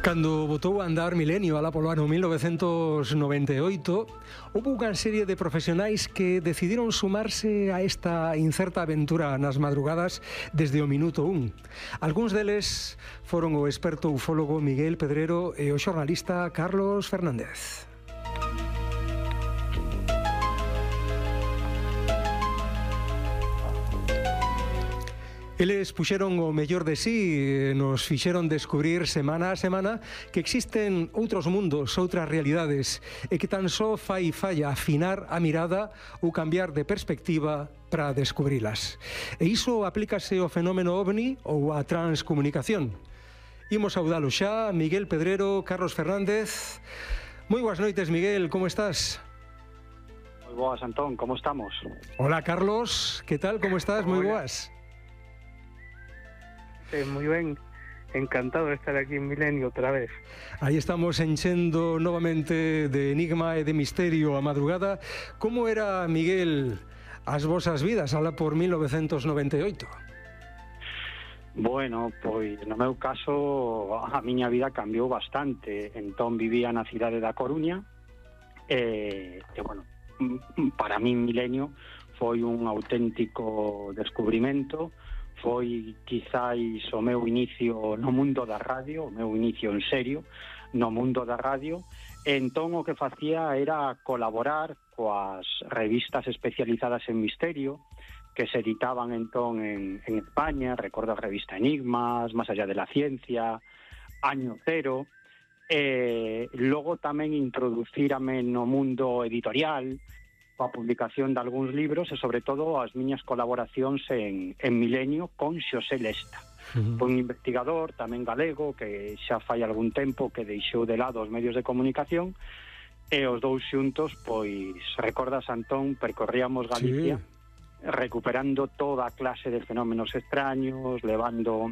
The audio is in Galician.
Cando botou a andar Milenio alá polo ano 1998, houve unha serie de profesionais que decidiron sumarse a esta incerta aventura nas madrugadas desde o minuto 1. Algúns deles foron o experto ufólogo Miguel Pedrero e o xornalista Carlos Fernández. Eles puxeron o mellor de sí e nos fixeron descubrir semana a semana que existen outros mundos, outras realidades e que tan só fai falla afinar a mirada ou cambiar de perspectiva para descubrilas. E iso aplícase ao fenómeno OVNI ou á transcomunicación. Imos saudalo xa, Miguel Pedrero, Carlos Fernández. Moi boas noites, Miguel, como estás? Moi boas, Antón, como estamos? Hola, Carlos, que tal, como estás? Moi boas. Moi ben, encantado de estar aquí en Milenio outra vez. Aí estamos enchendo novamente de enigma e de misterio a madrugada. Como era, Miguel, as vosas vidas alá por 1998? Bueno, pois no meu caso a miña vida cambiou bastante. Entón vivía na cidade da Coruña e bueno, para min Milenio foi un auténtico descubrimento. Foi quizáis o meu inicio no mundo da radio, o meu inicio en serio no mundo da radio. Entón o que facía era colaborar coas revistas especializadas en misterio que se editaban entón en España. Recordo a revista Enigmas, Más allá de la ciencia, Año Cero. Logo tamén introducírame no mundo editorial, coa publicación de algúns libros e, sobre todo, as miñas colaboracións en Milenio con Xosé Lesta. Foi un investigador tamén galego que xa fai algún tempo que deixou de lado os medios de comunicación e os dous xuntos, pois, recordas, Antón, percorríamos Galicia, sí, recuperando toda a clase de fenómenos extraños, levando